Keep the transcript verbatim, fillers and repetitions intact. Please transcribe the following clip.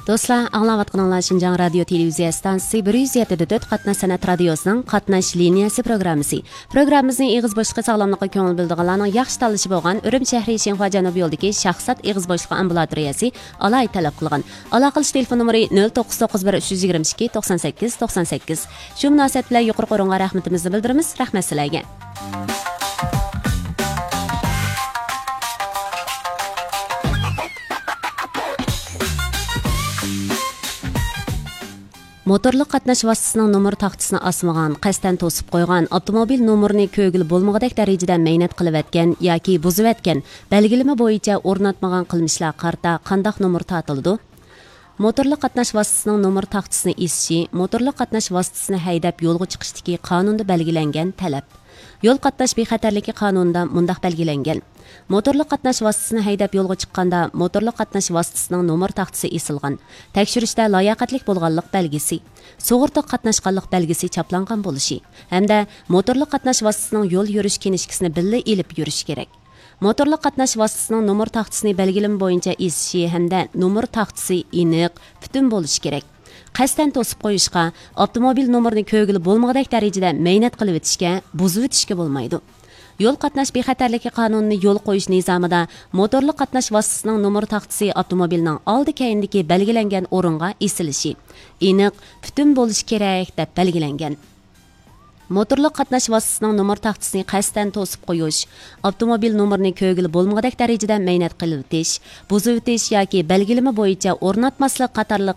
دوستلار، ئاڭلاۋاتقىنىڭلار شىنجاڭ رادىيو تېلېۋىزىيە ئىستانسىسى بىر يۈز يەتتە دە تۆت قاتناش سەنئەت رادىيوسىنىڭ قاتناش لىنىيەسى پروگراممىسى. پروگراممىمىزنى ئېغىز بوشلۇقى ساغلاملىققا كۆڭۈل بۆلىدىغانلارنىڭ ياخشى تاللىشى بولغان ئۈرۈمچى شەھىرى شىنخۇا جەنۇبىي يولىدىكى شاھزات ئېغىز بوشلۇقى ئامبۇلاتورىيەسى ئالاھىدە تەلەپ قىلغان. ئالاقىلىشىش تېلېفون نومۇرى نۆل توققۇز توققۇز بىر ئۈچ يۈز يىگىرمە ئىككى توقسان سەككىز توقسان سەككىز. شۇ مۇناسىۋەت بىلەن يۇقىرىقى ئورۇنغا رەھمىتىمىزنى بىلدۈرىمىز. رەھمەت سىلەرگە. موتورلۇق قاتناش ۋاسىتىسىنىڭ نومۇر تاختىسىنى ئاسمىغان، قەستەن توسۇپ قويغان، ئاپتوموبىل نومۇرىنى كۆرگىلى بولمىغۇدەك دەرىجىدە مەينەت قىلىۋەتكەن ياكى بۇزۇۋەتكەن، بەلگىلىمە بويىچە ئورناتمىغان قىلمىشلارغا قارىتا قانداق نومۇر تارتىلىدۇ؟ موتورلۇق قاتناش ۋاسىتىسىنىڭ نومۇر تاختىسىنى ئېسىشى موتورلۇق قاتناش ۋاسىتىسىنى ھەيدەپ يولغا چىقىشتىكى قانۇندا بەلگىلەنگەن تەلەپ. يول قاتناش بىخەتەرلىكى قانۇنىدا مۇنداق بەلگىلەنگەن: موتورلۇق قاتناش ۋاسىتىسىنى ھەيدەپ يولغا چىققاندا، موتورلۇق قاتناش ۋاسىتىسىنىڭ نومۇر تاختىسى ئېسىلغان، تەكشۈرۈشتە لاياقەتلىك بولغانلىق بەلگىسى، سۇغۇرتىغا قاتناشقانلىق بەلگىسى چاپلانغان بولۇشى ھەمدە موتورلۇق قاتناش ۋاسىتىسىنىڭ يول يۈرۈش كىنىشكىسىنى بىللە ئېلىپ يۈرۈشى كېرەك. موتورلۇق قاتناش ۋاسىتىسىنىڭ نومۇر تاختىسىنى بەلگىلىمە بويىچە ئېسىشى ھەمدە نومۇر تاختىسى ئېنىق، پۈتۈن بولۇشى كېرەك. قەستەن توسۇپ قويۇشقا، ئاپتوموبىل نومۇرىنى كۆرگىلى بولمىغۇدەك دەرىجىدە مەينەت قىلىۋېتىشكە، بۇزۇۋېتىشكە بولمايدۇ. يول قاتناش بىخەتەرلىكى قانۇنىنى يولغا قويۇش نىزامىدا موتورلۇق قاتناش ۋاسىتىسىنىڭ نومۇر تاختىسى ئاپتوموبىلنىڭ ئالدى كەينىدىكى بەلگىلەنگەن ئورۇنغا ئېسىلىشى، ئېنىق، پۈتۈن بولۇشى كېرەك، دەپ بەلگىلەنگەن. موتورلۇق قاتناش ۋاسىتىسىنىڭ نومۇر تاختىسىنى قەستەن توسۇپ قويۇش، ئاپتوموبىل نومۇرىنى كۆرگىلى بولمىغۇدەك دەرىجىدە مەينەت قىلىۋېتىش، بۇزۇۋېتىش ياكى بەلگىلىمە بويىچە ئورناتماسلىق قاتارلىق